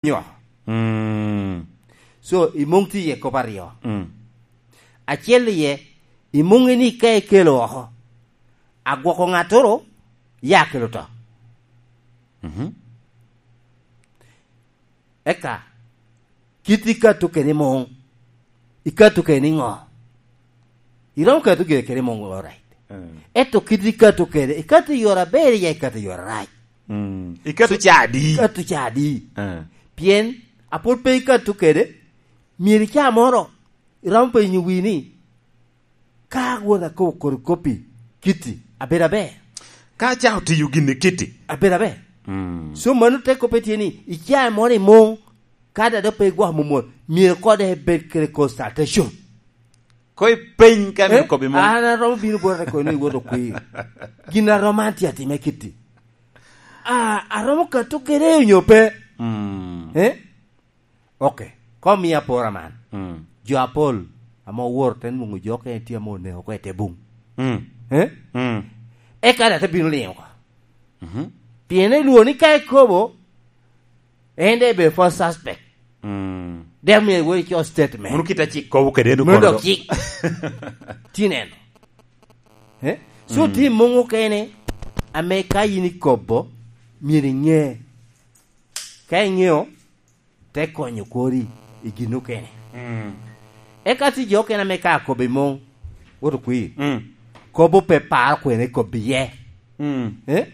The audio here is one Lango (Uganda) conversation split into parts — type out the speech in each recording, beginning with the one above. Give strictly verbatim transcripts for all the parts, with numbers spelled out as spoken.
nyo. Mm. So, i muŋ tye iye kop aryo. Mm. Acel iye, i muŋ ni ka ikelo oko, agwoko ŋattoro, ya kelo to. Mhm. Eka, kit ikato kede muŋ, ikato kede niŋo? Iromo kato gire kede muŋ, all right. Mm. Ento kit ikato kede, ikato i yore aber, ya ikato i yore arac. Mm. Ikato ca adi? Ikato ca adi? Mm. Pien apwod pe ikato kede, myero i ca moro, iromo penyo wii ni, ka wot akobo kodi koppi, kitti, abedo aber? Ka acako tiyo gin i kitti. Abedo aber? Mm. So, mano te koppe tye ni, i cawa moro i muŋ, ka dok pe igwoko momot, myero kode ebed kede consultation. Ko ipeny ka myero kobbi muŋ. Eh? An aromo bino bota kono iwoto kwir. Gin aromo an tye atime kitti. A, aromo kato kede onyo pe? Mm. Eh? Ok. Kom mia apora man. Mm. Jo apol ame owoto te nwoŋo jo okene tye ame oneko oko i te buŋ. Mm. Eh? Mm. Eka daŋ te bino liŋo oko. Mhm. Pien elwor ni ka ekobo, en daŋ ebedo first suspect. Mm. Dek myero iwot ico statement. Mano kit a cik kobo kede en. Mano dok cik. Ti neno. Eh? So, mm, tye muŋ okene ame ka in ikobo, myero iŋe. Ka iŋeo, te konyo kori i gin okene. Mm. Eka tye jo okene ame ka akobo i muŋ, woto kwir. Mm. Kobo pe paro kwene kobo iye. Mm. Eh?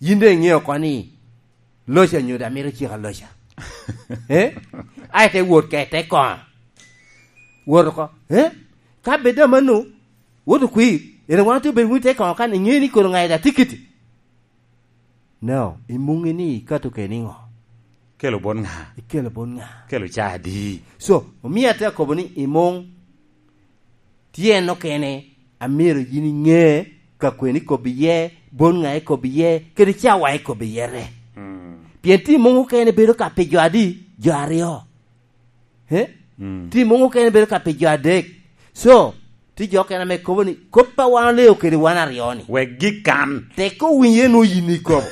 Yin daŋ iŋeo oko ni loca nyo daŋ mito cika loca. Eh? Ai te wot ka i te koŋo. Wot oko. Eh? Ka bed daŋ mano, woto kwir. En wan te bedo wun i te koŋo kan, iŋeo ni kono ŋai daŋ tikiti. No, i muŋi ni ikato kede niŋo? Kelo bot ŋa? Ikelo bot ŋa? Kelo ca adi? So, omio atye akobo ni i muŋ tye en okene, amyero yin iŋe ka kwene ikobo iye, bot ŋa ikobo iye, kede cawa ikobo iye re. Mm. Pien tye i muŋ okene bedo ka pi jo adi? Jo aryo. Eh? Mm. Tye i muŋ okene bedo ka pi jo adek. So, tye jo okene ame kobo ni, kop a wan oleo kede wan aryo ni. Wek gikan. Tek owinyo en nwoŋo yin ikobo.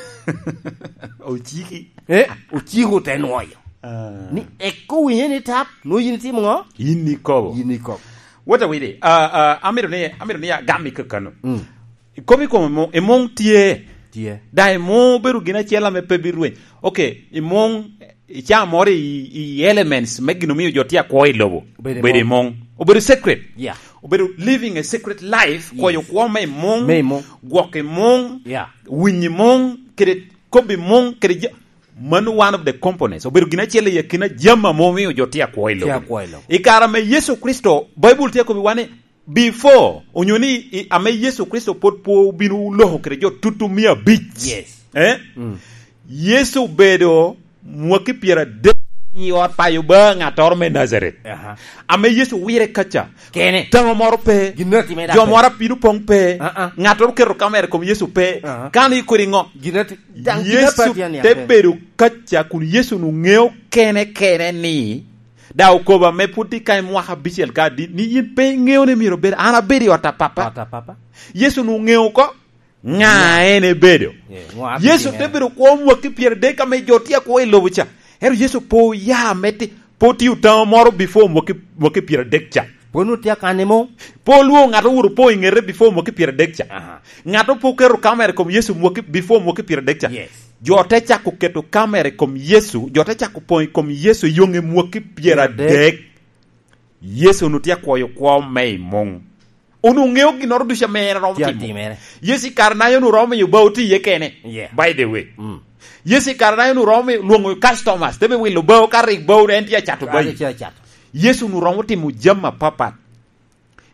Ociki. Eh? Ociko te nwoyo. Ah. Ni tek owinyo ni tap, nwoŋo yin itimo ŋo? Yin ikobo. Yin ikobo. Wot awidi, ah, ah, amito ni, amito ni agam i kakano. Mm. Kop i kome muŋ, i muŋ tye. Tye. Daŋ i muŋ obedo gin acel ame pe birweny. Ok, i muŋ, i caa moro i, i elements me gin omio jo tye akwo i lobo. Obedo i muŋ. Obedo i muŋ. Obedo secret. Yeah. Obedo living a secret life, yes, kwoyo kwo me i muŋ, me i muŋ, gwok i muŋ, yeah, winy i muŋ, kede kop i muŋ, kede ja-, mano one of the components. Obedo gin acel i akina jami ame omio jo tye akwo i lobo. Tye akwo i lobo. I kare ame Yecu Kricito, Baibul tye akobbiwa ni, before, onyo ni i, ame Yecu Kricito pwod pe obino loko kede jo tutu mia abic. Yes. Eh? Mm. Yecu obedo mwaki pyeradek i ot payo ba ŋattoro me Najaret. Aha. Ame Yecu wire kaca. Kene. Taŋo moro pe. Gin atime da jo pe. Moro apino poŋ pe. Ah, ah. Ŋattoro keto kamera i kom Yecu pe. Aha. Kan i kodi ŋo? Gin ati-, daŋ gin Yecu apati an ya te pe. Bedo kaca kun Yecu nu ŋeo kene kene ni Da okobo ame pwod tye ka i mwaka abicel ka adit, ni yin pe iŋeo ni myero obed, an abedo i ot a Papa. Ot a Papa. Yecu onwoŋo ŋeo oko ŋa en ebedo. Yeah, ŋo a Yecu te bedo kwo mwaki pyeradek ame jo tye akwo i lobo ca. Ento Yecu pe oya me ti-, pe otio taŋo moro before mwaki, mwaki pyeradek ca. Pwod onwoŋo tye akan i muŋ. Pe olwoŋo ŋat owoto po i ŋete before mwaki pyeradek ca. Aha. Ŋat opo keto kamera i kom Yecu mwaki, before mwaki pyeradek ca. Yes. Jo te cako keto kamera i kom Yecu, jo te cako poŋ i kom Yecu i yoŋe mwaki pyeradek. Yecu onwoŋo tye akwoyo kwo me i muŋ. Onwoŋo ŋeo ginnoro ducu ame en romo tye timo. Atimere. Yecu i kare-naye onwoŋo romo miyo bao ti iye kene. Yeah. By the way. Mm. Yecu i kare-naye onwoŋo romo lwoŋo customers, te me wilo bao, ka rik bao en tye acato bayi. Tye acato. Yecu onwoŋo romo timo jami apapat.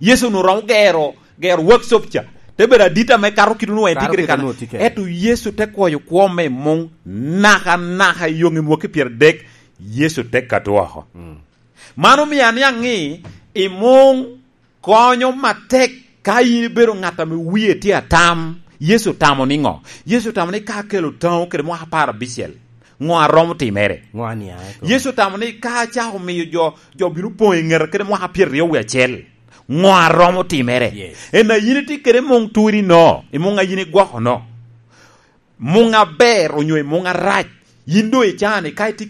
Yecu onwoŋo romo gero, gero workshop ca. Te bedo adit ame kato kite onwoŋo en tye kede kan. Ento Yecu te kwoyo kwo me muŋ naka, naka i yoŋe mwaki pyeradek, Yecu te kato oko. Mm. Man omio aniaŋ ni i muŋ konyo matek ka in ibedo ŋat ame wie tye atam. Yecu otamo niŋo? Yecu otamo ni ka akelo taŋo kede mwaka apar abicel, ŋo a romo timere? Ŋo a niaŋ eko? Yecu otamo ni ka acako miyo jo, jo bino poŋ i ŋeta kede mwaka pyeraryo wie acel, ŋo a romo timere? Yes. En a yin itye kede muŋ turi no, i muŋ a yin igwoko no. Muŋ aber onyo i muŋ arac, Yin doŋ icaa-ni, ka itye,